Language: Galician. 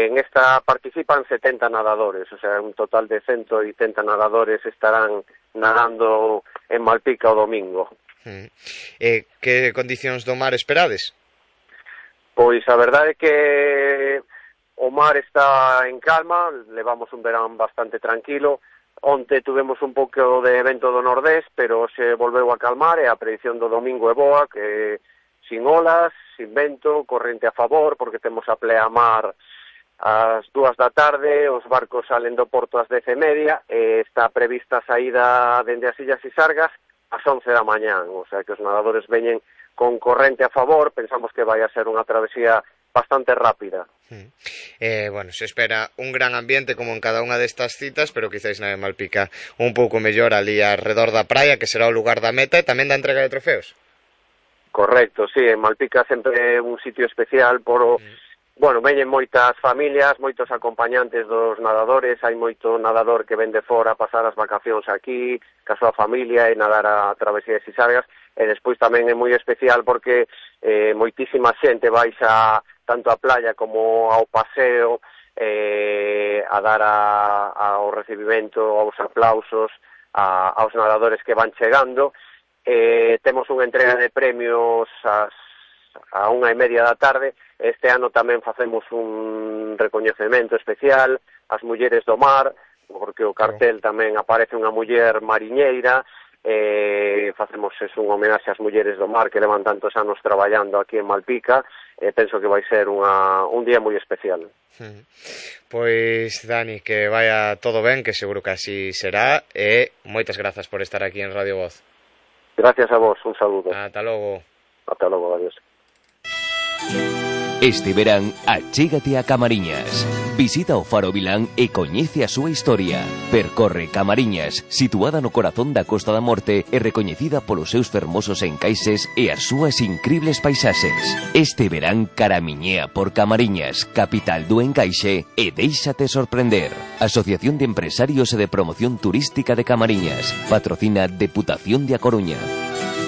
En esta participan 70 nadadores, o sea, un total de 180 nadadores estarán nadando en Malpica o domingo. Que condicións do mar esperades? Pois a verdade é que o mar está en calma, levamos un verán bastante tranquilo. Onte tuvemos un pouco de vento do nordés, pero se volveu a calmar e a predición do domingo é boa, que sin olas, sin vento, corrente a favor, porque temos a pleamar ás 2 da tarde, os barcos salen do porto ás 10:30, e está prevista a saída dende as Illas Sisargas ás 11 da mañán, o sea que os nadadores veñen con corrente a favor, pensamos que vai a ser unha travesía bastante rápida. Bueno, se espera un gran ambiente como en cada unha destas citas, pero quizáis na de Malpica un pouco mellor ali alrededor da praia, que será o lugar da meta e tamén da entrega de trofeos. Correcto, sí, en Malpica sempre é un sitio especial por bueno, veñen moitas familias, moitos acompañantes dos nadadores, hai moito nadador que ven de fora a pasar as vacacións aquí, ca súa familia e nadar a travesía de Sisargas, e despois tamén é moi especial porque moitísima xente baixa tanto a playa como ao paseo a dar ao recibimento, aos aplausos aos nadadores que van chegando. Temos unha entrega de premios a 1:30 da tarde. Este ano tamén facemos un recoñecemento especial ás mulleres do mar, porque o cartel tamén aparece unha muller mariñeira. Facemos un homenaxe ás mulleres do mar que levan tantos anos traballando aquí en Malpica. Penso que vai ser un día moi especial. Pois, Dani, que vaya todo ben, que seguro que así será, e moitas grazas por estar aquí en Radio Voz. Gracias a vos, un saludo. Ata logo. Ata logo, adiós. Este verán, achégate a Camariñas. Visita o Faro Vilán e coñece a súa historia. Percorre Camariñas, situada no corazón da Costa da Morte e recoñecida polos seus fermosos encaixes e as súas incribles paisaxes. Este verán caramiñea por Camariñas, capital do encaixe, e déixate sorprender. Asociación de Empresarios e de Promoción Turística de Camariñas. Patrocina Deputación de A Coruña.